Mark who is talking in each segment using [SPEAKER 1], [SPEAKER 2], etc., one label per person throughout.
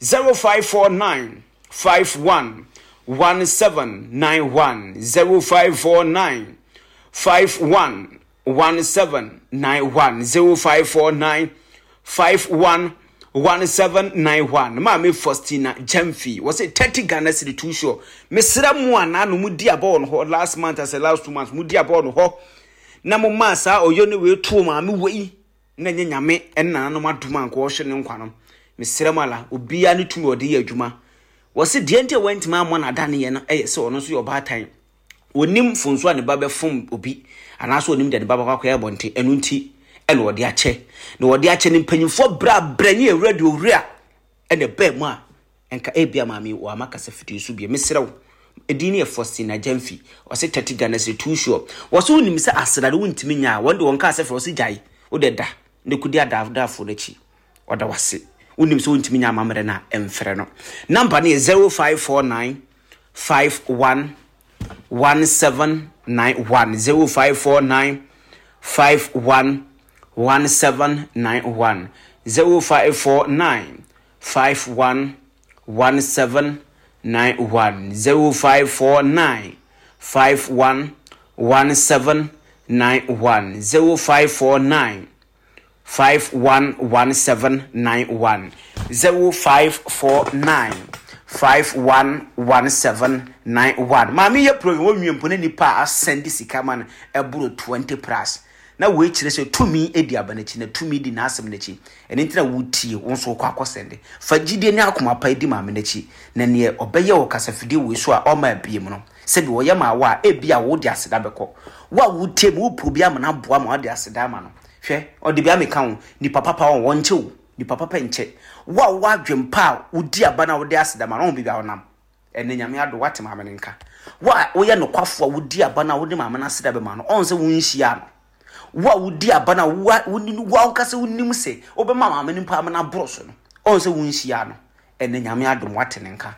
[SPEAKER 1] 0549 51 1791 0549 51 1791 0549 51 1791. Maame Faustina Gyamfi wɔsɛ 30 Ghana cedi too sure. Mesrɛ mo a naano mo di abɔ wɔ no hɔ last month asɛ last 2 months mo di abɔ wɔ no hɔ na mo maa saa ɔyɔ ne wei too maame wei na nyɛ Nyame ɛne nananom adom a nka ɔhwɛ ne nkwa no. Mesrɛ mo ala, obiara ne tumi ɔde yɛ adwuma. Wɔse deɛ nti a wɔntumi ammɔ n'adaneɛ no ɛyɛ sɛ ɔno nso yɛ ɔbaatan, onim mfonso a ne ba bɛfom obi anaasɛ onim deɛ ne ba bɛkɔ akɔyɛ abɔnten. Ɛno nti ɛna ɔde akyɛ na ɔde akyɛ ne mpanyinfoɔ brɛ abrɛ ne ewura deɛ owura ɛna ɛbɛn mu a nka ebia maame wɔ ama kasa fidie so bie. Mesrɛ wo, edin ne yɛ Faustina Gyamfi. Ɔsɛ 30 Ghana cedi too sure. Wɔsɛ wonim sɛ aseda no wontumi nya a wɔn de wɔn kaa sɛ frɛ ɔsɛ gyae wode da ne kodi adaadafoɔ n'akyi. Ɔda wase. Wonim sɛ wontumi nya amammerɛ no a, ɛmfrɛ no. Number no yɛ 0549 51 1791 0549 51 1791 0549 51 1791 0549 51 1791 0549 511791 0549 511791. Maame yɛ program wɔnwie mpo na nipa a asɛnde sika ma no ɛboro 20 plus na wei kyerɛ sɛ tumi di aba n'akyi na tumi di n'asɛm n'akyi. Ɛno nti na wotie wo nso wokɔ akɔsɛnde. Fa gyidie ne akoma pa di maame n'akyi na neɛ ɔbɛyɛ wɔ kasafidie wei so a ɔma abie mu no, sɛbi wɔyɛ ma wo a, ebi a wode aseda bɛkɔ. Wo a wotie mu, wopɛ obi ama no aboa ma wode aseda ama no. Hwɛ, ɔde bi ameka wo nipa papa wɔn wɔnkyɛ wo nipa papa nkyɛ. Wo a wowɔ adwempa a wodi aba no a wode aseda ma no, ɔho biribi a wonam ɛnɛ Nyame ado wate maame no nka. Wo a woyɛ nokwafo a wodi aba no a wode maame no aseda bɛma no, ɔn sɛ wonhyia no. Wo a wodi aba no a wo ankasa wonim sɛ wobɛma maame no mpo ama no aboro so no, ɔn sɛ wonhyia no. Ɛnɛ Nyame adom wate ne nka.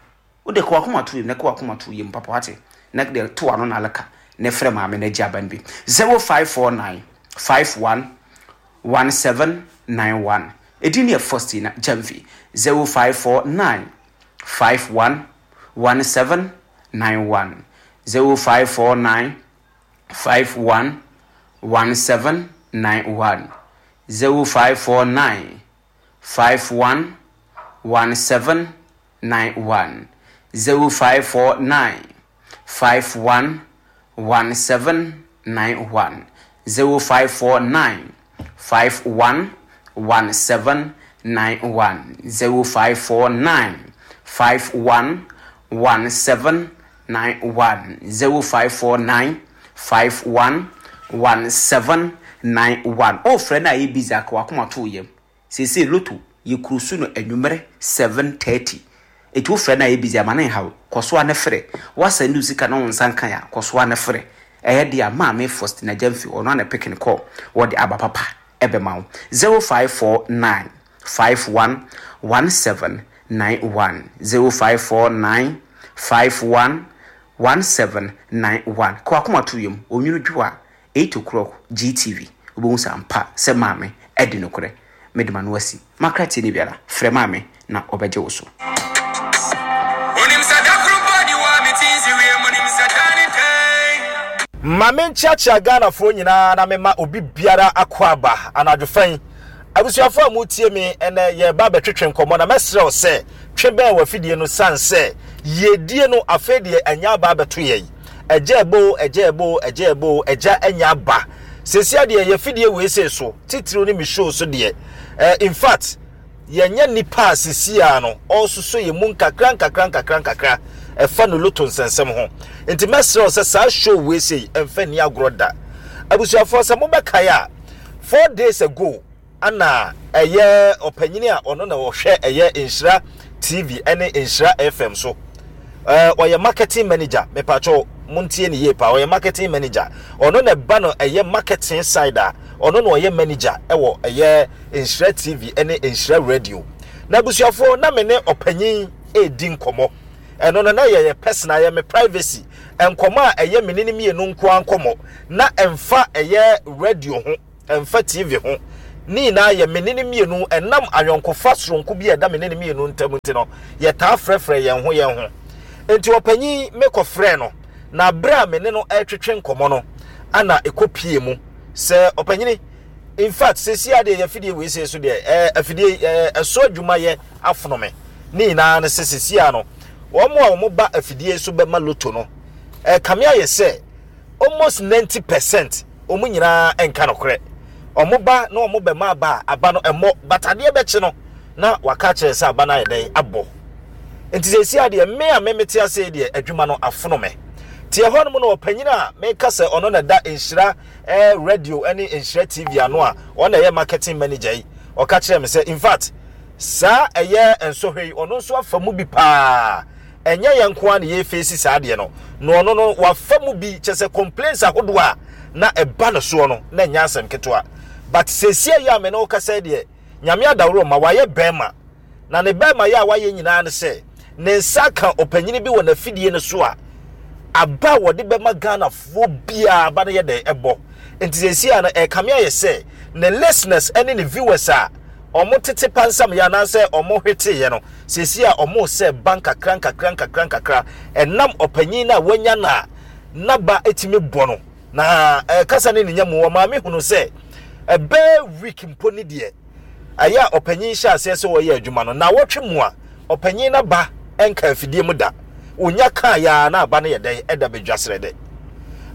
[SPEAKER 1] Wode ka wakoma to yam na ka wakoma to yam papa wate na de to ano na aleka na frɛ maame no agye aba no bi. 0549 51 1791. Ɛdin no yɛ Faustina Gyamfi. 0549 51 1791 0549 51 1791 0549 51 1791 0549 51 1791 0549 51 1791 0549 51 1791 0549 51 1791. Ɔfrɛ no a yɛ busy aka wakoma to yam. Seesei lotto yɛ kuro so no anwummerɛ 7:30. Eti wofrɛ no a yɛ busy ama ne nhaw. Kɔ so a ne frɛ. Woasɛnde wo sika na wo nsa nka a, kɔ so a ne frɛ. Ɛyɛ de a Maame Faustina Gyamfi ɔno a na pick ne call. Wɔde aba papa ɛbɛma wo. 0549 51 1791 0549 51 1791. Kɔ akoma to yam. Onwunu dwo a 8 o'clock GTV wobɛhu sɛ ampa sɛ maame adi nokorɛ. Mede m'ano asi. Makra tie ne biara. Frɛ maame na ɔbɛgye wo so.
[SPEAKER 2] Onim sɛ da koro mpo ni wɔ a mete nsi wiem. Onim sɛ da ne dɛn.
[SPEAKER 3] Ma menkyeakyea Ghanafoɔ nyinaa na mema obi biara akwaaba anadwo fa yi. Abusuafoɔ a motie me ɛnɛ, yɛreba abɛtwetwe nkɔmmɔ na mɛsrɛ wo sɛ twe bɛn w'afidie no sane sɛ yiedie no afei deɛ anya aba abɛto yɛn. Agya ɛbɔ o, agya ɛbɔ o, agya ɛbɔ o, agya anya aba. Sesia deɛ yɛafidie wei sei so, titiriw ne me show so deɛ, eh, in fact, yɛnyɛ nnipa a sesia no ɔresosɔ yɛn mu nkakra nkakra nkakra nkakra ɛfa no loto nsɛnsɛm ho. Nti mɛsrɛ wo sɛ saa show wei sei ɛmfa nni agorɔ da. Abusuafoɔ sɛ mobɛkae a, 4 days ago ana ɛyɛ ɔpanyini a ɔno na ɔhwɛ ɛyɛ Nhyira TV ɛne Nhyira FM so. Ɔyɛ marketing manager, mepatwɔ montie ne yie paa. Ɔyɛ marketing manager, ɔno na ɛba no ɛyɛ marketing side a ɔno na ɔyɛ manager ɛwɔ ɛyɛ Nhyira TV ɛne Nhyira Radio. Na abusuafoɔ, na me ne ɔpanyin ɛredi nkɔmmɔ. Ɛno no na yɛyɛ personal, yɛ me privacy nkɔmmɔ a ɛyɛ me ne ne mmienu nko ara nkɔmmɔ, na ɛmfa ɛyɛ radio ho, ɛmfa TV ho. Ne nyinaa yɛ me ne no mmienu, ɛnam ayɔnkofa soronko bi a ɛda me ne no mmienu ntam nti no, yɛtaa frɛfrɛ yɛn ho yɛn ho. Enti ɔpanyin, mekɔfrɛɛ no, na berɛ a me ne no retwetwe nkɔmmɔ no, ana ɛkɔpie mu sɛ ɔpanyini, in fact, seesei ara deɛ yɛ afidie wei sei so deɛ, ɛɛ, afidie yi, ɛɛ, ɛso adwumayɛ afono me. Ne nyinaa ne sɛ seesei ara no, wɔn a wɔba afidie so bɛma loto no, ɛkame ayɛ sɛ almost 90% wɔn nyinaa nka nokorɛ. Wɔn ba na wɔn bɛma aba a, aba no ɛmmɔ, but adeɛ bɛkye no na waka akyerɛ sɛ aba no ayɛ dɛn abɔ. Nti seesei ara deɛ me a me mete ase yi deɛ adwuma no afono me. Te ɛhɔ nom no ɔpanyin a meka sɛ ɔno na ɛda Nhyira eh, radio ne Nhyira TV ano a ɔno na ɛyɛ marketing manager yi, ɔka kyerɛɛ me sɛ in fact saa ɛyɛ nsɔhwɛ yi ɔno nso afa mu bi paa. Ɛnyɛ yɛn nko ara na yɛrefeesi saa adeɛ no, na ɔno no wafa mu bi, kyerɛ sɛ complaints ahodoɔ a na ɛba no soɔ no, na ɛnyɛ asɛm ketewa. But seesei yi a me ne wo kasa yi deɛ, Nyame adaworo ma wayɛ bɛrima, na ne bɛrima yɛ a wayɛ nyinaa ne sɛ, ne nsa aka ɔpanyini bi wɔ n'afidie no so a, aba a wɔde bɛma Ghanafoɔ biara aba no yɛ dɛn ɛbɔ. Nti seesei a no ɛrekame ayɛ sɛ ne listeners ne ne viewers a wɔn tete pansamyɛ anaasɛ wɔn hweteeɛ no, seesei a wɔn resɛ ba nkakra nkakra nkakra nkakra ɛnam ɔpanyin no a wanya no a n'aba tumi bɔ no. Na ɛkasa ne ne nya mu, ɔmaa me hunu sɛ ɛbɛɛ week mpo ne deɛ ɛyɛ a ɔpanyin hyɛ aseɛ sɛ ɔyɛ adwuma no, naawɔtwe mu a ɔpanyin n'aba nka afidie mu da. Ɔnya kaa yɛ a na aba no yɛ dɛn ɛda bɛdwa serɛ dɛ.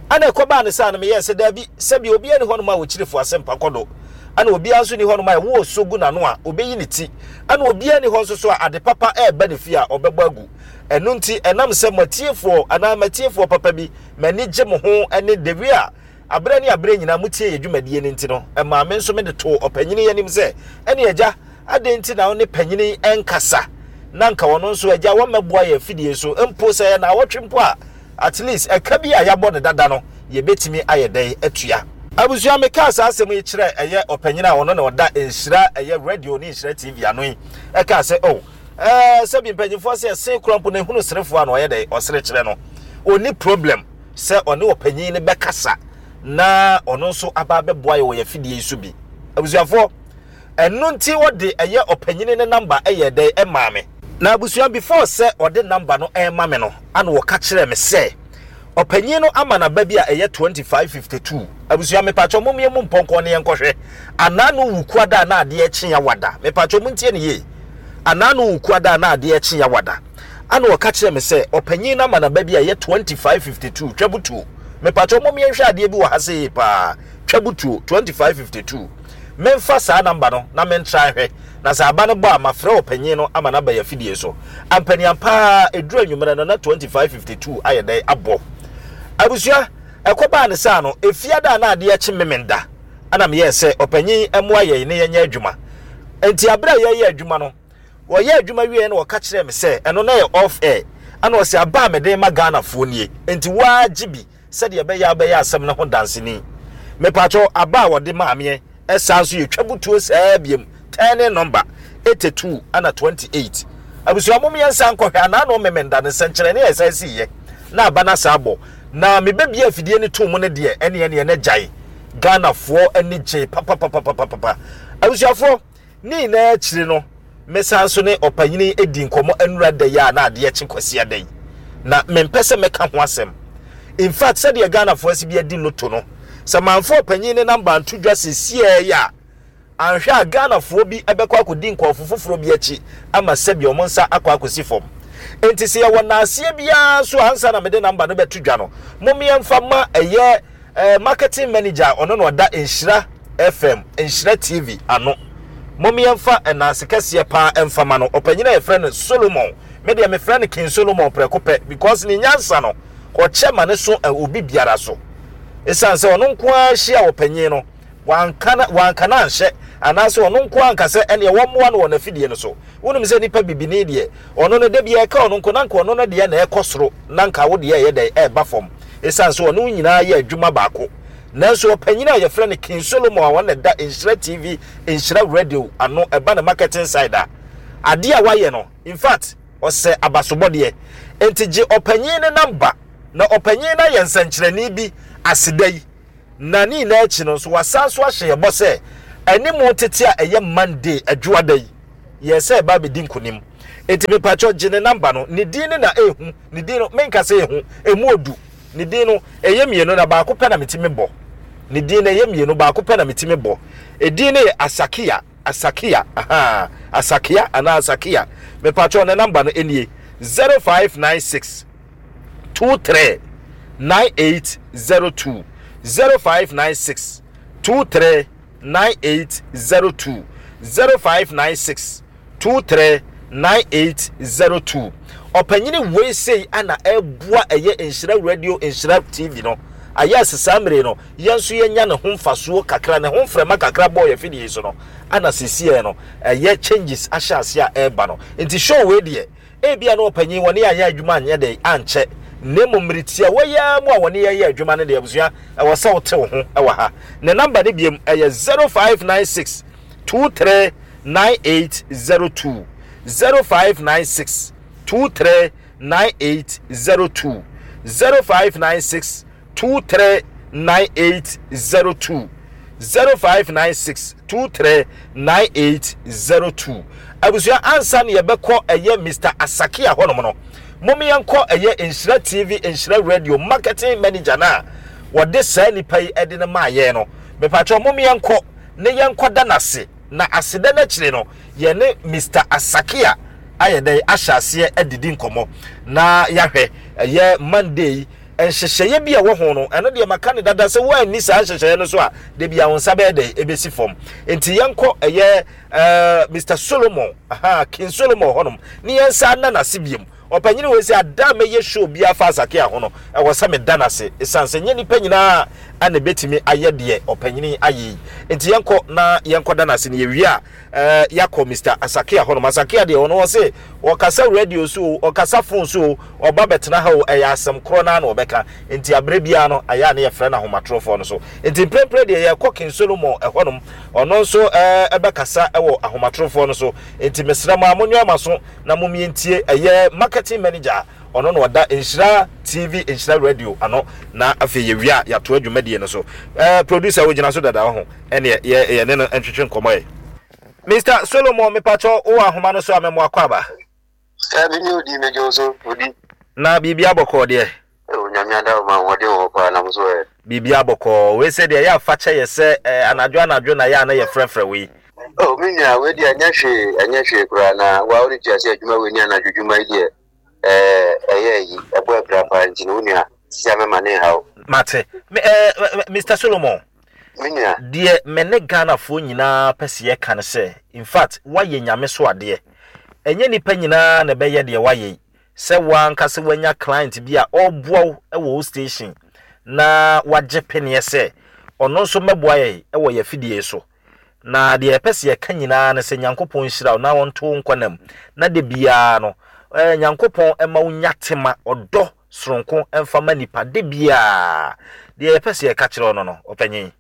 [SPEAKER 3] Ɛna ɛkɔbaa ne saa no meyɛɛ sɛ daabi, sɛbi obiara ni hɔnom a ɔkyiri fo asɛmpa kɔ do, ɛna obiara nso ni hɔnom a ɛwɔ ɔsɔ gu n'ano a ɔbɛyi ne ti, ɛna obiara ni hɔ nso so a ade papa ɛreba ne fie a ɔbɛbɔ agu. Ɛno nti ɛnam sɛ mo atiefoɔ anaa m'atiefoɔ papa bi m'ani gye mo ho ne the way a aberɛ ne aberɛ nyinaa motie yɛ dwumadie no nti no, ɛmaa me nso mede too ɔpanyini yi anim sɛ, ɛne agya, adɛn nti na wo ne panyini yi nkasa na nka ɔno nso agya wɔmmɛboa yɛn afidie so mpo sɛ ɛyɛ naawɔtwe mpo a, at least ɛka bi a yɛabɔ no dada no yɛbɛtumi ayɛ dɛn atua. Abusua, mekaa saa asɛm yi kyerɛɛ ɛyɛ ɔpanyin a ɔno na ɔda Nhyira ɛyɛ radio ne Nhyira TV ano yi, ɛkaa sɛ, oh, ɛɛ, sɛbi mpanyinfoɔ sɛ ɛsen kora mpo na ehunu serefoɔ a na ɔyɛ dɛn ɔsere kyerɛ no, ɔnni problem sɛ ɔne ɔpanyin no bɛkasa na ɔno nso aba abɛboa yɛ wɔ yɛn afidie yi so bi. Abusuafoɔ, Ɛno nti ɔde ɛyɛ ɔpanyini no number yɛɛ dɛn ɛmaa me. Na abusua before sɛ ɔde number no ɛrema me no ana ɔka kyerɛɛ me sɛ ɔpanyin no ama no aba bi a ɛyɛ 2552. Abusua mepakyɛw mom yɛn mu mpɔnkɔ ne yɛnkɔhwɛ anaa no wu kuada a na adeɛ rekye yawada. Mepakyɛw montie no yie. Anaa no wu kuada a na adeɛ rekye yawada. Ana ɔka kyerɛɛ me sɛ ɔpanyin no ama no aba bi a ɛyɛ 2552 twabutuo. Mepakyɛw mom yɛnhwɛ adeɛ bi wɔ ha sei paa twabutuo 2552. Memfa saa number no na mentra nhwɛ, na sɛ aba no bɔ a mafrɛ ɔpanyin no ama no aba yɛn afidie so. Ampaniampa ara, ɛduru anwummerɛ no na 25:52 ayɛ dɛn abɔ. Abusua, ɛkɔbaa no saa no, Efiada a na adeɛ rekye Memenda na meyɛɛ sɛ ɔpanyin mmoa yɛn na yɛnyɛ adwuma. Enti aberɛ a yɛreyɛ adwuma no, wɔyɛɛ adwuma wieɛ na wɔka kyerɛɛ me sɛ ɛno na ɛyɛ off air, ɛna ɔse aba a mede rema Ghanafoɔ nie, enti wo ara gye bi. Sɛdeɛ ɛbɛyɛ a wobɛyɛ asɛm no ho danseni. Mepakyɛw, aba a wɔde maa meɛ saa nso yɛ twabutuo saa biom, turning number, 82 ɛna 28. Abusua mom yɛn nsan nkɔhwɛ anaa no memenda no nsɛnkyerɛnne a ɛsan siiɛ na aba no asan abɔ na mebɛbie afidie no too mu no deɛ ɛneɛ neɛ na gyae. Ghanafoɔ ani gyee papapapapapa. Abusuafoɔ. Ne nyinaa akyiri no, mesan nso ne ɔpanyin yi dii nkɔmmɔ nnura da yi a na adeɛ kye Kwasiada yi. Na mempɛ sɛ mɛka ho asɛm. In fact, sɛdeɛ Ghanafoɔ asi bi adi lotto no, sɛ mamfa ɔpanyin no namba anto dwa seesei yi a, anhwɛ a Ghanafoɔ bi bɛkɔ akɔdi nkurɔfo foforɔ bi akyi ama sɛbi wɔn nsa akɔ akɔsi fam. Enti sɛ yɛwɔ nnaaseɛ biara nso a, ansa na mede namba no bɛto dwa no, mom yɛmfa ma ɛyɛ Eh, marketing manager a ɔno na ɔda Nhyira FM, Nhyira TV ano. Mom yɛmfa ɛnaase kɛseɛ paa ɛmfa ma no. Ɔpanyin a yɛfrɛ no Solomon. Me deɛ mefrɛ no King Solomon prɛko pɛ because ne nyansa no, ɔkyɛ ma ne so obi biara so. Esiane sɛ ɔno nko ara hyia ɔpanyin no, wanka na wanka no anhyɛ anaasɛ ɔno nko ara anka sɛ ɛneɛ wɔmmoa no wɔ n'afidie no so. Wonim sɛ nipa bibini deɛ, ɔno no da biara ɛka ɔno nko na nka ɔno no deɛ na ɛkɔ soro na nka wo deɛ ɛyɛ dɛn ɛreba fam. Esiane sɛ ɔne wo nyinaa yɛ adwuma baako. Nanso ɔpanyin a yɛfrɛ no King Solomon a ɔno na ɛda Nhyira TV, Nhyira Radio ano, ɛba ne marketing side a, adeɛ a wayɛ no, in fact, ɔsɛ abasobɔdeɛ. Enti gye ɔpanyin no number na ɔpanyin no ayɛ nsɛnkyerɛnne bi aseda yi. Na ne nyinaa akyi no nso, wasan nso ahyɛ yɛn bɔ sɛ, Animu tete a ɛyɛ Monday, Adwoada yi, yɛɛ sɛ ɛba abɛdi nkonim. Enti mepakyɛw gye ne number no. Ne din no na ɛhu, ne din no, menka sɛ ɛhu, ɛmu odu. Ne din no, ɛyɛ mmienu na baako pɛ na metumi bɔ. Ne din no, ɛyɛ mmienu, baako pɛ na metumi bɔ. Edin no yɛ Asakia, Asakia, ahaa, Asakia anaa Asakia. Mepakyɛw ne number no nie, 0596 23 9802, 0596 23 9802, 0596 23 9802. Ɔpanyini wei sei ana ɛboa ɛyɛ Nhyira Radio, Nhyira TV no. Ayɛ ase saa mmere no, yɛn nso yɛnya ne ho mfasoɔ kakra, ne ho mframa kakra bɔɔ yɛn fidie yi so no, ana seesei no ɛyɛ changes ahyɛ ase a ɛreba no. Nti show wei deɛ, Ebia na ɔpanyin wɔne yɛn anyɛ adwuma anyɛ dɛn ankyɛ, na mmom mmere tiawa yi ara mu a wɔne yɛn yɛ adwuma no deɛ, abusua, ɛwɔ sɛ wote wo ho wɔ ha. Ne namba no biom, ɛyɛ 0596 23 9802, 0596 23 9802, 0596 23 9802 0596 23 9802 Abusua ansa na yɛbɛkɔ ɛyɛ Mister Asakia hɔnom no, mom yɛnkɔ ɛyɛ Nhyira TV Nhyira Radio marketing manager no a wɔde saa nipa yi ɛde no maa yɛn no. Mepakyɛw mom yɛnkɔ ne yɛnkɔda no ase na aseda no akyire no yɛne Mister Asakia ayɛ dɛn ahyɛ aseɛ adidi nkɔmmɔ na yɛahwɛ ɛyɛ Monday yi nhyehyɛeɛ bi a ɛwɔ ho no, ɛno deɛ maka no dada sɛ woanni saa nhyehyɛeɛ no so a, da bi a wo nsa bɛyɛ dɛn ɛbɛsi fam. Nti yɛnkɔ ɛyɛ uh, Mr. Solomon, aha, King Solomon hɔnom, ne yɛn nsa nna n'ase biom. Ɔpanyini wei sɛ ada a mɛyɛ show biara fa Asakea ho no, ɛwɔ sɛ meda n'ase, ɛsiane sɛ nyɛ nnipa nyinaa a na ɛbɛtumi ayɛ deɛ ɔpanyini ayɛ yi. Nti yɛnkɔ na yɛnkɔda n'ase na yɛwie a, Eh, yɛakɔ Mister Asakia hɔnom. Asakia deɛ, ɔno ɔse ɔkasa radio so o, ɔkasa phone so o, ɔba bɛtena ha o, ɛyɛ asɛm korɔ no ara na ɔbɛka. Nti aberɛ biara no, ayɛ a na yɛfrɛ no ahomatorɔfoɔ no so. Nti mprempren deɛ, yɛrekɔ King Solomon hɔnom. Ɔno nso eh, bɛkasa wɔ ahomatorofoɔ no so. Nti mesrɛ mo a, monwɛn mo aso na mom yɛntie ɛyɛ marketing manager Ɔno na ɔda Nhyira TV, Nhyira Radio ano, na afei yɛwie a yɛatoa dwumadie no so. Eh, producer wogyina so dada ho, ɛneɛ yɛ yɛne no ntwetwe nkɔmmɔ ɛ. Mister Solomon mepakyɛw wowɔ ahoma no so a mɛmo akɔ aba.
[SPEAKER 4] Dabi ne odi megye wo so odi.
[SPEAKER 3] Na biribi abɔkɔɔ deɛ.
[SPEAKER 4] Oh Nyame adawoma ahoɔden wɔ hɔ paa na mo so ɛ.
[SPEAKER 3] Biribi abɔkɔɔ. Wei sɛ deɛ ɛyɛ a fakyɛ yɛ sɛ eh, anadwo anadwo na yɛ a na yɛfrɛfrɛ wo yi.
[SPEAKER 4] Oh me nua wei deɛ ɛnyɛ hwee ɛnyɛ hwee koraa na wa wode tua sɛ adwuma wei ne anadwo dwuma yi deɛ ɛɛ ɛyɛ ayi ɛbɔ abira paa nti no wo nua sisi a mɛma ne nhaw.
[SPEAKER 3] Mate. Me ɛɛ Mister Solomon.
[SPEAKER 4] Me nua.
[SPEAKER 3] Deɛ me ne Ghanafoɔ nyinaa pɛ sɛ yɛka ne sɛ, in fact woayɛ Nyame so adeɛ. Ɛnyɛ nnipa nyinaa na ɛbɛyɛ deɛ woayɛ yi. Sɛ wo ankasa woanya client bi a ɔreboa wo wɔ wo station na wagye peneɛ sɛ ɔno nso mmɛboa yɛn wɔ yɛn afidie yi so. Na deɛ yɛpɛ sɛ yɛka nyinaa ne sɛ Nyankopɔn nhyira wo na ɔnto wo nkwa nna mu, na da biara no eh, Nyankopɔn mma wo nya tema, ɔdɔ soronko mfa ma nipa da biara. Deɛ yɛpɛ sɛ yɛka kyerɛ wo no no, ɔpanyin.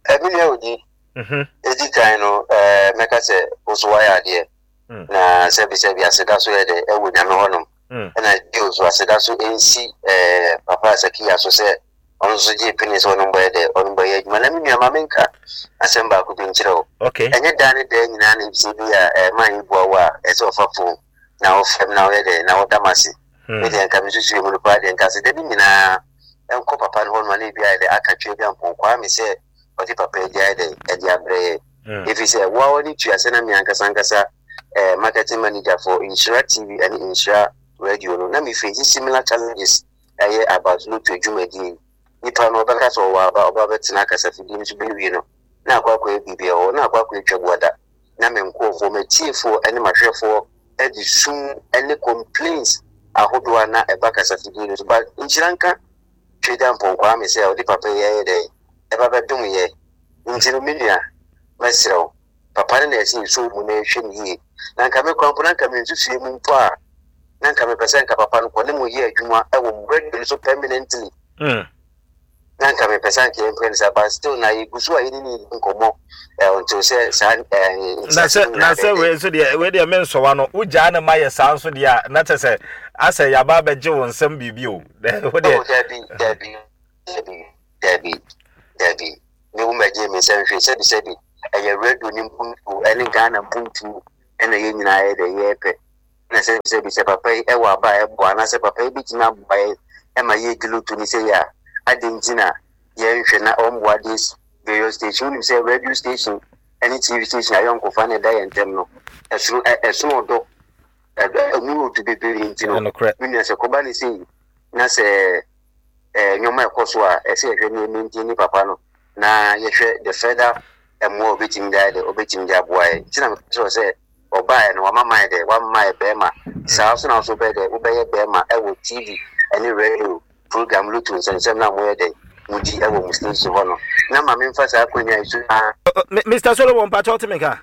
[SPEAKER 4] Eh, me nua Odi, edi kan no, eh, mɛka sɛ wo nso woayɛ adeɛ. Mm. Na sɛbisɛbi aseda so yɛ dɛ ɛwɔ Nyame hɔnom. Mm. Ɛna bio nso aseda so nsi eh, Papa Asakiya so sɛ ɔno nso gyee pene sɛ ɔno mbɔyɛ dɛ ɔno mbɔyɛ adwuma. Na me nua ma menka asɛm baako bi nkyerɛ wo.
[SPEAKER 3] Okay.
[SPEAKER 4] Ɛnyɛ daa ne daa nyinaa na ebisɛ bi a eh, man yi boa wo a ɛsɛ ɔfa fon na ɔfrɛ m na ɔyɛ dɛ na ɔda m ase. Hmm. Me deɛ nka mesusu mu no paa deɛ nka aseda bi nyinaa nkɔ papa no hɔ no a na ebi ayɛ dɛ aka twɛ bi ampɔn kwaa me sɛ ɔde papa yi de ayɛ dɛ ɛde abrɛ yɛ. Hmm. Ɛfiri sɛ woa w'ani tua sɛ na me ankasa ankasa eh, marketing manager for Nhyira TV ɛne Nhyira Radio no na me face similar challenges ɛyɛ about lotto dwumadie yi. Nipa no ɔbɛka sɛ ɔwɔ aba, ɔba bɛtena akasafidie no so bɛwie no na akɔ akɔyɛ biribi ɛhɔ na akɔ akɔyɛ twabuada na me nkurɔfoɔ, m'atiefoɔ ɛne m'ahwɛfoɔ ɛde sum ɛne complaints ahodoɔ a na ɛba kasafidie no so. But nhyira nka Twedampɔn Kwame sɛ ɔde papa yi ɛyɛ dɛn ɛba bɛdom yɛ. Nti no me nua, mɛsrɛ wo, papa no na ɛsɛ yɛsɔ mu na yɛhwɛ no yie. Na nka me koraa mpo na nka me nsusuiɛ mu mpo a, na nka mepɛ sɛ nka papa no kɔ ne mo yɛ adwuma wɔ mo radio no so permanently.
[SPEAKER 3] Mm.
[SPEAKER 4] Na nka mepɛ sɛ anka yɛmpɛ no saa, but still na yɛgu so a yɛne ne di nkɔmmɔ eh, until sɛ saa eh,
[SPEAKER 3] na sɛ na sɛ wei nso deɛ wei deɛ mensɔwa no wogyaa ne ma yɛ saa nso deɛ a na kyɛ sɛ asɛ yɛaba abɛgye wo nsɛm biribi o. Wo deɛ.
[SPEAKER 4] Oh, dabi, dabi, dabi, dabi, dabi. Me wo mɛgye me nsɛm hwee sɛbi sɛbi. Ɛyɛ radio ne mpuntuo ɛne Ghana mpuntuo ɛna yɛn nyinaa yɛ dɛ yɛpɛ. Na sɛ sɛ bi sɛ papa yi ɛwɔ aba a ɛboa anaasɛ papa yi bɛtumi aboa yɛn ɛma yɛdi loto ne sɛ yɛ a, adɛn nti na yɛnhwɛ na ɔmboa this various station. Wonim sɛ radio station ɛne TV station ayɔnkofa na ɛda yɛn ntam no, ɛsono ɛsono ɔdɔ, ɛmu yɛ odu bebree nti no, me nua sɛ kɔba ne sei na sɛ nneɛma ɛkɔ so a, ɛsɛ yɛhwɛ ne maintain ne papa no na yɛhwɛ the further mmoa a obetumi de ayɛ dɛ obetumi de aboa yɛn. Nti na meka kyerɛ sɛ ɔbaeɛ no wama mayɛ dɛ wama mayɛ bɛrima. Saa nso na nso wobɛyɛ dɛ wobɛyɛ bɛrima ɛwɔ TV ɛne radio program loto nsɛnsɛm na moyɛ dɛ mudi ɛwɔ mo station hɔ no. Na ma memfa saa akonnwa yi so na.
[SPEAKER 3] Mr. Solomon, mpakyɛ wote me nka?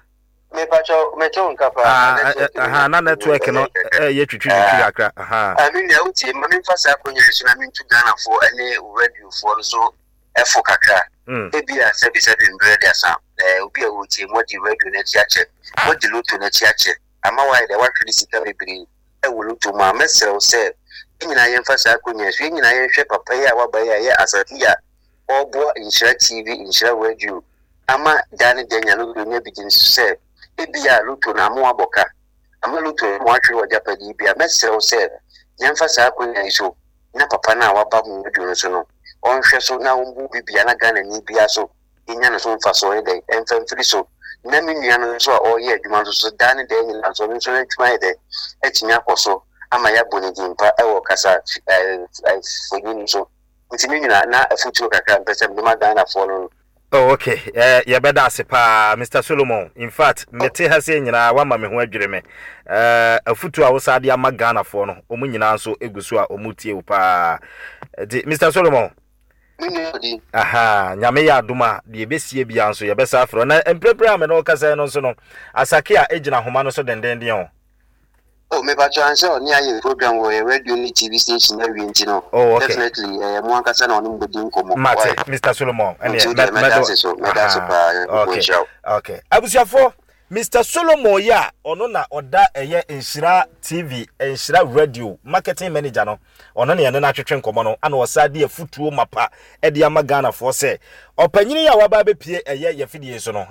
[SPEAKER 4] Mepakyɛ mete wo nka paa.
[SPEAKER 3] Ah, na network no ɛyɛ twitwi twitwi kakra.
[SPEAKER 4] Ah, me nua wotie, ma memfa saa akonnwa yi so na mentu Ghanafoɔ ɛne radiofoɔ no so ɛfo kakra. Ebia sɛbisɛbi mbrɛ de asa, obi a ɔretie mu adi radio no akyi akyɛ, wadi lotto no akyi akyɛ, ama wayɛ dɛ wahwere sika bebree wɔ lotto mu a, mɛsrɛ wo sɛ yɛn nyinaa yɛmfa saa akonnwa yi so, yɛn nyinaa yɛnhwɛ papa yi a waba yi a ɛyɛ Asante yi a ɔreboa Nhyira TV, Nhyira Radio ama da ne da nya lotto nya bi di no so sɛ ebia lotto no ama wabɔ ka, ama lotto no ama wahwere w'agyapadeɛ bi a, mɛsrɛ wo sɛ yɛmfa saa akonnwa yi so na papa no a waba mu radio no so no ɔnhwɛ so na ɔmbu obi bia na Ghanani bia so nya ne so mfasoɔ ne dɛn ɛmfa mfiri so na me nua no nso a ɔreyɛ adwuma nso so daa ne daa nyinaa nso ɔno nso n'adwuma ayɛ dɛn atumi akɔ so ama yɛabɔ ne din pa ɛwɔ kasa mfonyin so nti me nyina na afotuo kakra mpɛ sɛ mede ma Ghanafoɔ no.
[SPEAKER 3] Oh okay, eh, yɛbɛda ase paa Mr. Solomon. In fact, mete ha sɛ nyinaa wama me ho adwiri me. Eh, afutuo a wosaa de ama Ghanafoɔ no, wɔn nyinaa nso egu so a wɔn tie wo paa. Nti Mr. Solomon, aha, nyame yɛ adom a deɛ ɛbɛsie biara nso yɛbɛsa afrɛ. Na mprempren a me ne wo kasa yi no nso no, Asake a egyina ahoma no so dendenden o.
[SPEAKER 4] Oh me pacho ansɛ ɔne ayɛ program wɔ yɛ radio ne TV station awie nti no.
[SPEAKER 3] Oh okay.
[SPEAKER 4] Definitely ɛyɛ mo ankasa na ɔne mo bɛdi nkɔmmɔ.
[SPEAKER 3] Mate Mr Solomon
[SPEAKER 4] ɛneɛ Nti wodeɛ mɛda ase so mɛda ase paa Nyankopɔn
[SPEAKER 3] okay
[SPEAKER 4] nhyira wo.
[SPEAKER 3] Okay abusuafoɔ Mr Solomon yi a ɔno na ɔda ɛyɛ Nhyira TV Nhyira Radio marketing manager no ɔno na yɛne no atwetwe nkɔmmɔ no ana ɔsan de afutuo mapa ɛde ama Ghanafoɔ sɛ ɔpanyini yi a waba abɛpie ɛyɛ yɛfidie so no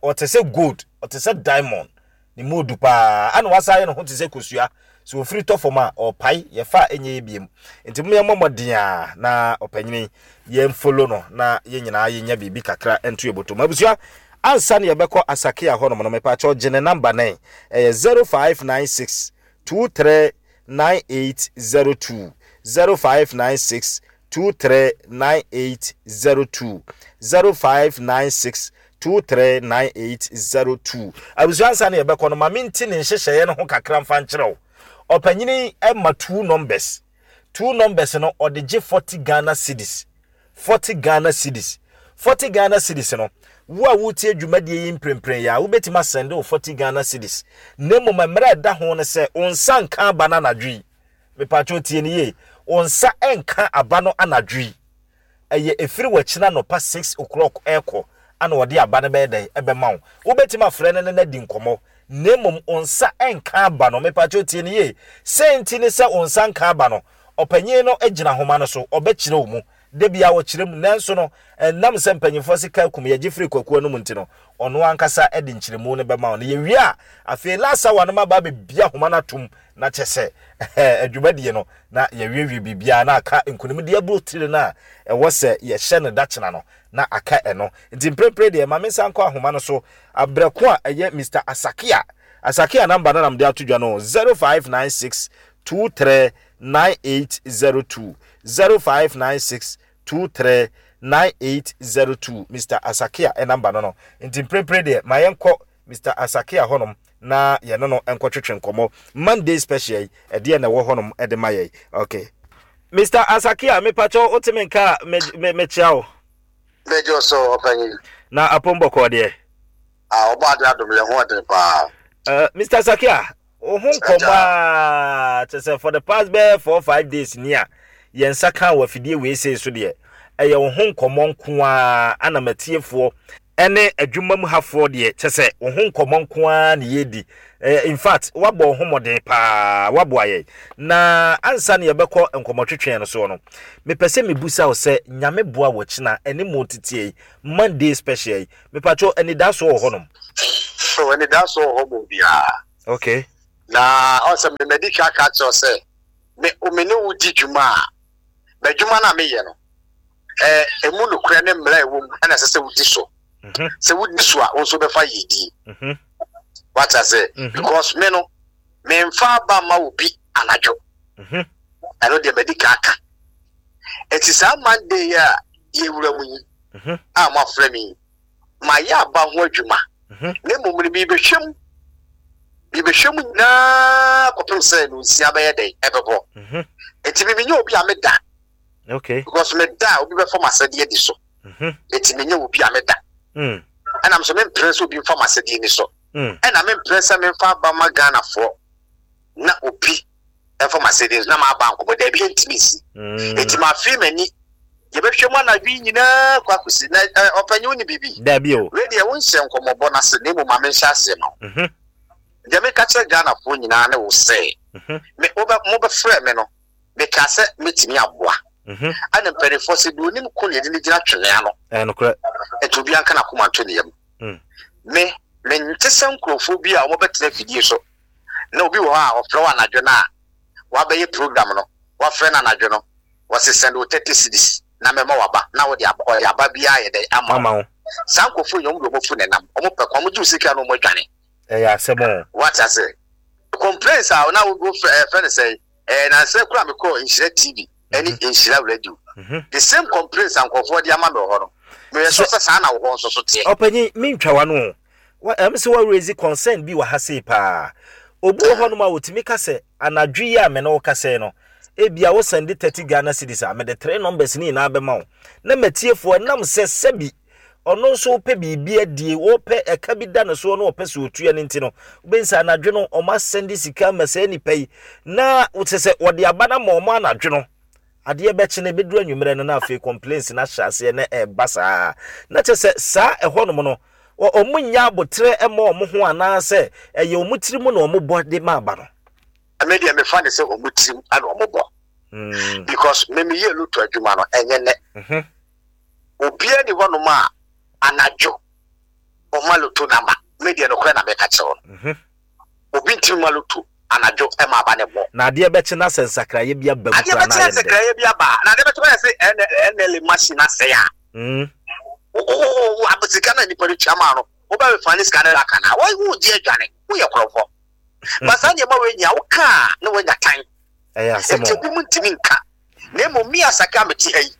[SPEAKER 3] ɔte sɛ gold ɔte sɛ diamond Ne mu odu paa. Ana wasan ayɛ ne ho te sɛ kosua. Sɛ ofiri tɔ fam a, ɔrepae, yɛfa a ɛnyɛ yɛ biom. Nti mom yɛmmɔ mmɔden a na ɔpanyini yɛn follow no na yɛn nyinaa yɛnya biribi kakra nto yɛn bɔtɔ mu. Abusua, ansa na yɛbɛkɔ Asakea hɔnom no, mepaakyɛw gye ne number no ɛ. Ɛyɛ 0596 23 9802, 0596 239802, 0596 239802. Abusua ansa na yɛbɛkɔ no, ma menti ne nhyehyɛeɛ no ho kakra mfa nkyerɛ wo. Ɔpanyini ma two numbers. Two numbers no, ɔde gye 40 Ghana cedis. 40 Ghana cedis. 40 Ghana cedis no, wo a woretie dwumadie yi mprempren yi a, wobɛtumi asɛnde wo 40 Ghana cedis. Na mmom mmerɛ a ɛda ho no sɛ, wo nsa nka aba no anadwo yi. Mepatwo tie no yie. Wo nsa nka aba no anadwo yi. Ɛyɛ ɛfiri wakyina anɔpa six o'clock ɛrekɔ ana ɔde aba no bɛyɛ dɛn ɛbɛma wo. Wobɛtumi afrɛ no ne no adi nkɔmmɔ na mmom wo nsa nka aba no. Mepatwo tie no yie. Sei nti ne sɛ wo nsa nka aba no, ɔpanyin no gyina ahoma no so, ɔbɛkyerɛ wo mu. Da biara ɔkyerɛ mu, nanso no, ɛnam sɛ mpanyimfoɔ se ka kum yɛgye firi kwaku anom nti no, ɔno ankasa de nkyerɛmu no bɛma wo. Na yɛwie a, afei last hour no maba abɛbue ahoma no atom na kyɛ sɛ adwumadie no na yɛawiewie biribiara na aka nkonimdie abotire no a ɛwɔ sɛ yɛhyɛ no dakyena no na aka ɛno. Nti mprempren deɛ ma mensan nkɔ ahoma no so abrɛ ko a ɛyɛ Mister Asakia. Asakia number no na mede ato dwa no, 0596 23 9802 0596 23 9802 Mister Asakia number no no. Nti mprempren deɛ ma yɛnkɔ Mister Asakia hɔnom na yɛne no nkɔtwetwe nkɔmmɔ. Monday special yi, ɛdeɛn na ɛwɔ hɔnom de ma yɛn? Okay. Mister Asakia, mepakyɛw wote me nka a, me, me, mekyea wo.
[SPEAKER 4] Mɛgye wo so, ɔpanyin.
[SPEAKER 3] Na apom bɔkɔɔ deɛ?
[SPEAKER 4] Ah, ɔbɔ ade adom yɛ ho ɔden paa.
[SPEAKER 3] Mister Asakia, wo ho nkɔmmɔ a kyɛ sɛ for the past bɛyɛ 4-5 days ni a yɛn nsa ka wɔ afidie wei sei so deɛ, ɛyɛ wo ho nkɔmmɔ nko ara ana matiefoɔ. Ɛne adwuma mu hafoɔ deɛ kyɛ sɛ wo ho nkɔmmɔ nko ara na yɛredi. Eh, in fact, woabɔ wo ho mmɔden paa, woaboa yɛn. Na ansa na yɛbɛkɔ nkɔmmɔtwetweɛ no soɔ no, mepɛ sɛ mebusa wo sɛ Nyame boa wo kyena ɛne mo teteɛ yi, Monday special yi, mepakyɛw anidasoɔ wɔ hɔnom?
[SPEAKER 4] Oh, anidasoɔ wɔ hɔ ma obiara.
[SPEAKER 3] Okay.
[SPEAKER 4] Na ɔn sɛ me madi kan aka akyerɛ wo sɛ me me ne wo di dwuma a, m'adwuma no a meyɛ no, ɛɛ emu nokorɛ ne mmara a ɛwɔ mu ɛna ɛsɛ sɛ wodi so. Mhm. Sɛ wodi so a, wo nso wobɛfa yiedie. Mhm. Wate ase? Mhm. Because me no, memfa aba mma obi anadwo. Ɛno deɛ madi kan aka. Eti saa Monday yi a yɛwura mu yi a moafrɛ me yi, mayɛ aba ho adwuma. Na mmom no merebɛhwɛ mu, merebɛhwɛ mu nyinaa kɔpem sɛ nonsia bɛyɛ dɛn ɛbɛbɔ. Eti me menyɛ obi a meda.
[SPEAKER 3] Okay.
[SPEAKER 4] Because meda a obi bɛfa m'asɛdeɛ adi so. Eti menyɛ obi a meda. Ɛna nso mempere sɛ obi mfa m'asɛdeɛ ni so. Ɛna mempere sɛ memfa aba ma Ghanafoɔ na obi mfa m'asɛdeɛ so na m'aba nkɔbɔ. Daabi, ɛntumi nsi. Eti mafe m'ani. Yɛbɛhwɛ mu anadwo yi nyinaa kɔ akɔsi. Na ɔpanyin wo ne biribi?
[SPEAKER 3] Daabi o.
[SPEAKER 4] Wei deɛ wonhyɛ nkɔmmɔbɔ no ase na mmom ma menhyɛ aseɛ ma wo. Deɛ meka kyerɛ Ghanafoɔ nyinaa ne wo sɛ, me wobɛ mobɛfrɛ me no, mekaa sɛ mɛtumi aboa. Ɛna mpanimfoɔ sɛ deɛ onim ko na yɛde no gyina twene ano.
[SPEAKER 3] Ɛyɛ nokorɛ.
[SPEAKER 4] Nti obiara nka n'akoma nto ne yam. Me, mente sɛ nkurɔfoɔ bi a wɔbɛtena afidie so na obi wɔ hɔ a ɔfrɛ wo anadwo no a wabɛyɛ program no, wafrɛ no anadwo no, wɔse send wo 30 cedis na mɛma waba na wode aba, ɔde aba biara ayɛ dɛn ama wo. Saa nkurɔfoɔ yi wɔn de wɔn afu na ɛnam, wɔn pɛ kwan, wɔn gye wo sika na wɔn adwane.
[SPEAKER 3] Ɛyɛ asɛm o.
[SPEAKER 4] Wate ase? Complaints a na wo frɛ ɛfrɛ no sɛn? Ɛɛ nansa kura me kɔɔ Nhyira TV ɛne mhm. Nhyira Radio. Mhm. The same complaints a nkurɔfoɔ de ama me wɔ hɔ no, meyɛ sure sɛ saa na wɔ hɔ nso so teɛ.
[SPEAKER 3] Ɔpanyin, mentwa w'ano o. Wa ɛm sɛ wa raise concern bi wɔ ha sei paa. Obi wɔ hɔnom a otumi ka sɛ anadwo yi a me ne wo kasa yi no, ebia wo sɛnde 30 Ghana cedis a, mede three numbers ne nyinaa bɛma wo. Na matiefoɔ ɛnam sɛ sɛbi ɔno nso wopɛ biribi adie, wɔpɛ ɛka bi da ne soɔ na ɔpɛ sɛ ɔtua no nti no, wobɛhu sɛ anadwo no wɔn asɛnde sika ama saa nipa yi na kyerɛ sɛ wɔde aba no ama wɔn anadwo no. Adeɛ bɛkye no ɛbɛduru anwummerɛ no na afei complaints no ahyɛ aseɛ na ɛreba saa. Na kyerɛ sɛ saa ɛhɔnom no wɔn nnya aboterɛ mma wɔn ho anaasɛ ɛyɛ wɔn tiri mu na wɔn bɔ de ma aba no.
[SPEAKER 4] Me deɛ mefa ne sɛ wɔn tirim na wɔn bɔ. Because me meyɛ loto adwuma no ɛnyɛ nnɛ. Obiara ni hɔnom a anadwo ɔma loto namba. Me deɛ nokorɛ na meka kyerɛ wo no. Mhm. Obi ntumi ma loto anadwo ma aba ne mmɔ.
[SPEAKER 3] Na adeɛ bɛkye na sɛ nsakraeɛ bi aba mu
[SPEAKER 4] Adeɛ
[SPEAKER 3] koraa na
[SPEAKER 4] bɛkye na
[SPEAKER 3] ayɛ no dɛn?
[SPEAKER 4] nsakraeɛ bi aba a, na adeɛ bɛkye bɛyɛ sɛ NLA machine asɛe a.
[SPEAKER 3] Mm.
[SPEAKER 4] Wo wo wo wo ab sika no a nipa no tua maa no, wobɛ refund sika no aka no a, wo wogye adwane, woyɛ korɔmfoɔ. Ba saa nneɛma wei nyinaa woka a na woanya tan.
[SPEAKER 3] Ɛyɛ asɛm
[SPEAKER 4] Enti
[SPEAKER 3] o.
[SPEAKER 4] ebinom ntumi nka. Na mmom me Asake a mete ha yi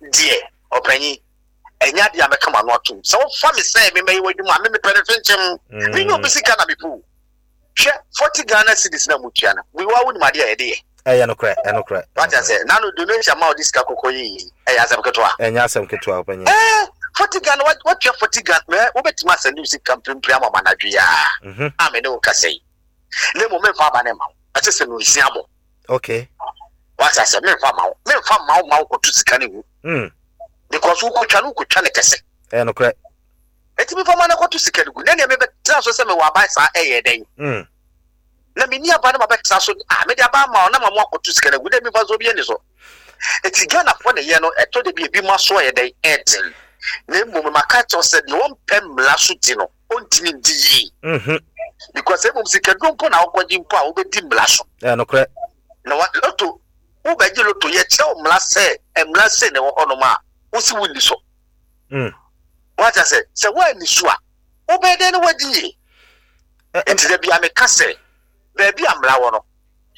[SPEAKER 4] deɛ, ɔpanyin, ɛnyɛ adeɛ a mɛka m'ano atom. Sɛ wofa me sɛ memmɛyɛ w'adwuma a, me mepɛ no fenkyem. Menyɛ obi sika na mepɛ o. Hwɛ, 40 Ghana cedis na mutua no, me wa wonim adeɛ a yɛde yɛ.
[SPEAKER 3] Ɛyɛ nokorɛ, ɛnokorɛ.
[SPEAKER 4] Wate aseɛ? Nano donation ma wode sika kɔkɔ yɛ yei, ɛyɛ asɛm ketewa?
[SPEAKER 3] Ɛnyɛ asɛm ketewa, ɔpanyin.
[SPEAKER 4] Ɛɛ, 40 Ghana, watua 40 Ghana, mɛ wobɛtumi asɛnde wo sika mprempren ama me anadwo yi ara a me ne wo kasa yi. Na mmom memfa aba no mma wo, ɛsɛ sɛ nonsia bɔ.
[SPEAKER 3] Okay.
[SPEAKER 4] Wate aseɛ? Memfa mma wo, memfa mma wo ma wokɔto sika no ngu. Because wokɔtwa no, wokɔtwa no kɛse.
[SPEAKER 3] Ɛyɛ nokorɛ.
[SPEAKER 4] Enti memfa mma no kɔto sika no gu. Na nea mebɛtena so sɛ mewɔ aban saa ɛyɛ dɛn? Na menni aba na mabɛtena so a, mede aba ama wo na ma mo akɔto sika no agu. Dɛ memfa so obi ani so. Enti Ghanafoɔ na ɛyɛ no, ɛtɔ da bi ebi mo aso ayɛ dɛn? Ɛden. Na mmom maka akyerɛ wo sɛ deɛ ɔmpɛ mmara so di no, ɔntumi ndi yie.
[SPEAKER 3] Mhm.
[SPEAKER 4] Because mmom sikaduro mpo na wokɔgye mpo a wobɛdi mmara so.
[SPEAKER 3] Ɛyɛ nokorɛ.
[SPEAKER 4] Na wa loto wobɛgye loto yɛkyerɛ wo mmara sɛ mmara sei na ɛwɔ hɔnom a wosi wonni so.
[SPEAKER 3] Mm.
[SPEAKER 4] Wate ase sɛ woanni so a wobɛyɛ dɛn na woadi yie? Nti da bia meka sɛ baabi a mmara wɔ no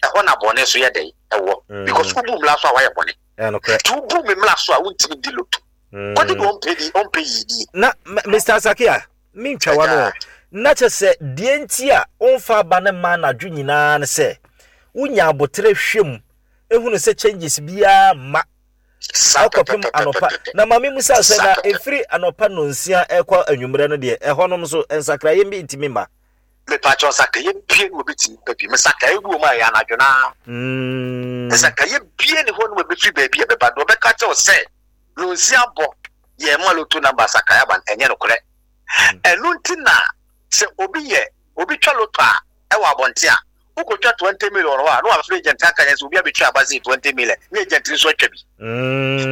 [SPEAKER 4] ɛhɔ na bɔne nso yɛ dɛn ɛwɔ.
[SPEAKER 3] Mm.
[SPEAKER 4] Because wobu mmara so a woayɛ bɔne.
[SPEAKER 3] Ɛyɛ nokorɛ.
[SPEAKER 4] Nti wobu me mmara so a wontumi ndi loto. Kɔgye deɛ ɔmpɛ di ɔmpɛ yiedie.
[SPEAKER 3] Na Mister Asakia, mentwa w'ano o, na kyerɛ sɛ deɛ nti a womfa aba no mma anadwo nyinaa ne sɛ wonya aboterɛ hwɛ mu hunu sɛ changes biara mma ɛkɔpem anɔpa. Na ma memmisa sɛ na ɛfiri anɔpa nnɔnsia ɛkɔ anwummerɛ no deɛ ɛhɔnom nso nsakraeɛ bi ntumi mma?
[SPEAKER 4] Mepakyɛw nsakraeɛ bie ne wɔbɛtumi ba bi. Nsakraeɛ bi wɔ mu a ɛyɛ anadwo no ara. Nsakraeɛ bie ne hɔ nom a ɛbɛfiri baabi a ɛbɛba. Deɛ ɔbɛka kyerɛ wo sɛ Lonsi abɔ yɛn ma loto number nsakraeɛ aba no, ɛnyɛ nokorɛ. Ɛno nti na sɛ obi yɛ obi twa lotto a ɛwɔ abɔnten a, wokɔtwa 20 million hɔ a, na wafrɛ agent aka yɛn sɛ obi abɛtwa aba sei 20 million, na agent no nso atwa bi.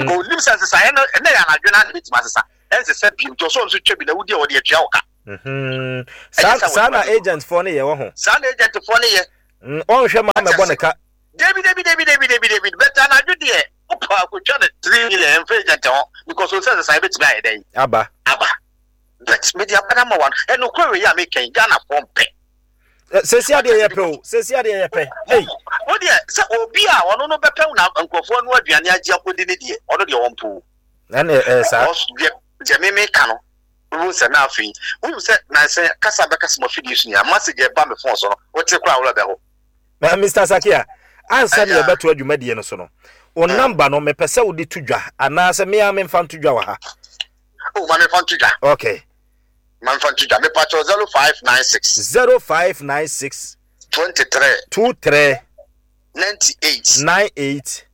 [SPEAKER 4] Because onim sɛ nsesaeɛ no ɛnɛ yɛ anadwo no ara na ɛbɛtumi asesa, ɛnsesa bio, nti ɔsɛ ɔno nso twa bi na wodi a wɔde atua wo ka.
[SPEAKER 3] Saa saa na agent foɔ no yɛ wɔ ho.
[SPEAKER 4] Saa na agent foɔ no yɛ.
[SPEAKER 3] Ɔnhwɛ ma mɛbɔ ne ka.
[SPEAKER 4] Dabi dabi dabi dabi dabi dabi but anadwo deɛ wopɛ akotwa no 3 million, ɛmfa agent ho because ɔsɛ nsesaeɛ bɛtumi ayɛ dɛn?
[SPEAKER 3] Aba.
[SPEAKER 4] Aba. But mede aba no ama wa no, ɛnokorɛ wei a meka yi, Ghanafoɔ mpɛ.
[SPEAKER 3] Sɛsi adeɛ yɛ pɛ o, sɛsi adeɛ yɛ pɛ. Hey.
[SPEAKER 4] Wo deɛ sɛ obi a ɔno no bɛpɛ na nkurɔfoɔ no aduane agye akɔdi ne deɛ, ɔno deɛ ɔmpɛ o.
[SPEAKER 3] Ɛne ɛɛ saa.
[SPEAKER 4] Deɛ deɛ meme ka no, wohu sɛ na afei wohu sɛ nansɛ kasa bɛkasa mo afidie so nyinaa, message ɛba me phone so no, wote koraa worɛ bɛho.
[SPEAKER 3] Mr. Sakia, ansa ne yɛbɛto adwumadie no so no, wo number no mepɛ sɛ wode to dwa anaasɛ mea memfa nto dwa wɔ ha?
[SPEAKER 4] Oh, ma memfa nto dwa.
[SPEAKER 3] Okay.
[SPEAKER 4] Ma memfa nto dwa. Mepakyɛw 0596.
[SPEAKER 3] 0596.
[SPEAKER 4] 23.
[SPEAKER 3] 23.
[SPEAKER 4] 98.
[SPEAKER 3] 98.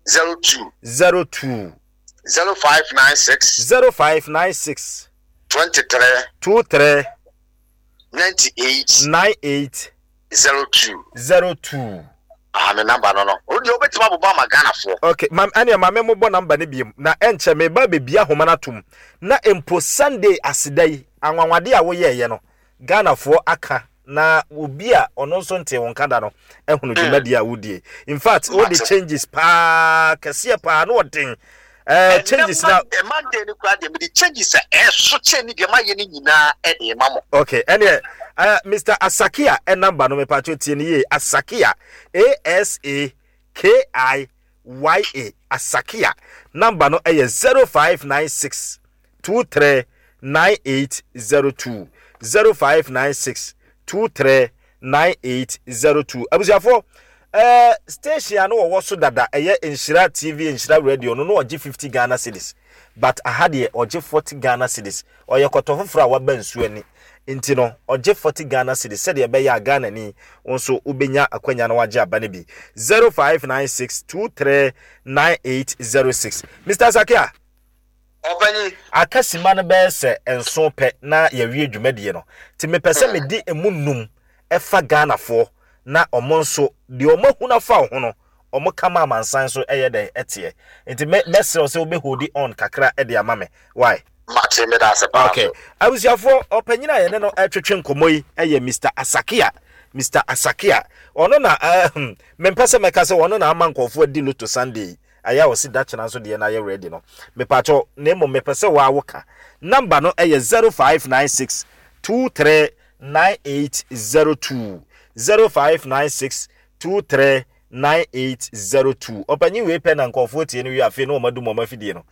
[SPEAKER 4] 02.
[SPEAKER 3] 02.
[SPEAKER 4] 0596.
[SPEAKER 3] 0596.
[SPEAKER 4] 23.
[SPEAKER 3] 23.
[SPEAKER 4] 98.
[SPEAKER 3] 98.
[SPEAKER 4] 02.
[SPEAKER 3] 02.
[SPEAKER 4] Ah, me number no. O deɛ wobɛtumi abobɔ ama Ghanafoɔ.
[SPEAKER 3] Okay, ma ɛnea ma me mobɔ number no biom na ɛnkyɛ meba bebia ahoma no atom na mpo Sunday aseda yi anwanwade a woyɛɛyɛ no Ghanafoɔ aka na obi a ɔno nso ntee wo nka da no ahunu dwumadie a wodie. In fact, wode changes paa kɛseɛ paa na ɔden changes na.
[SPEAKER 4] Monday no koraa deɛ mede changes a ɛso kyɛn ne deɛ mayɛ no nyinaa ɛde ma mo.
[SPEAKER 3] Okay, ɛneɛ Mr. Asakia number no mepatwo tie no yie. Asakia, A S A K I Y A, Asakia number no ɛyɛ 0596 23 9802, 0596 23 9802. Abusuafoɔ, station a no wɔwɔ so dada ɛyɛ Nhyira TV, Nhyira Radio no, na ɔgye 50 Ghana cedis, but aha deɛ ɔgye 40 Ghana cedis. Ɔyɛ kɔtɔ foforɔ a waba nsuo ani nti no ɔgye 40 Ghana cedis sɛdeɛ ɛbɛyɛ a Ghana ni wo nso wobɛnya akwanya na wagye aba no bi. 0596 23 9806. Mr. Sakia.
[SPEAKER 4] Ɔpanyin.
[SPEAKER 3] Aka sima no bɛyɛ sɛ 7 pɛ na yɛawie dwumadie no, nti mepɛ sɛ mede emu 5 ɛfa Ghanafoɔ na ɔmo nso deɛ ɔmo ahunu afa wo ho no ɔmo ka ma amansan nso ɛyɛ dɛn ɛteɛ. Nti mɛ mɛsrɛ wo sɛ wobɛ hold on kakra ɛde ama me. Why?
[SPEAKER 4] Mate, meda ase paa
[SPEAKER 3] Okay.
[SPEAKER 4] so.
[SPEAKER 3] Abusuafoɔ, ɔpanyin a yɛne no ɛtwetwe nkɔmmɔ yi ɛyɛ Mr. Asakia. Mr. Asakia. Ɔno na ɛɛ mempɛ sɛ mɛka sɛ ɔno na ama nkurɔfoɔ adi Lotto Sunday yi. Ayɛ a ɔsi da kyena nso deɛ no ayɛ ready no, mepakyɛw, na mmom mepɛ sɛ waa wo ka. Number no yɛ 0596 23 9802, 0596 23 9802. Ɔpanyin wei pɛ na nkurɔfoɔ tie no wie afei na wɔn adum wɔn afidie no.